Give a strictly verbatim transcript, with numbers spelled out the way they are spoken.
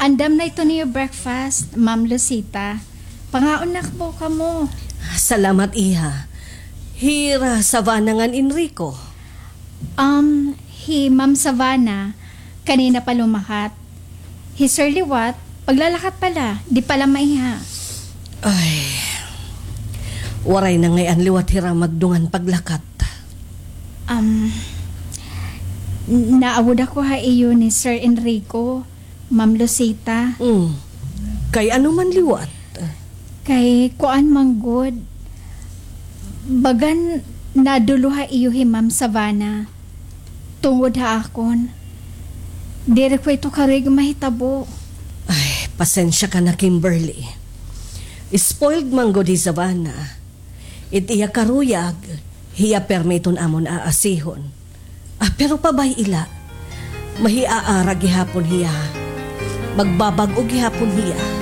Andam na ito niyo breakfast, Ma'am Lucita. Pangaon na po kamo. Salamat, iha. Hira Savannah ngan Enrico? Um, hi Ma'am Savannah, kanina pa lumakat. Hi Sir liwat, paglalakat pa la, di pa la maiha. Ay, waray na ngay-an liwat hira magdungan paglakat. Um, naawod ako ha iyo ni Sir Enrico, Ma'am Lucita. Mm. Kay ano man liwat? Kay kuan man gud, bagan nadulo ha iyo hi Ma'am Savannah. Tungod ha akon. Diri ko ito karuyag mahitabo. Ay, pasensya ka na, Kimberly. Spoiled man gud hi Savannah. It iya karuyag, hiya pirmi iton amon aasihon. Ah, pero pabay-i la. Mahiaara gihapon hiya. Magbabag-o gihapon hiya.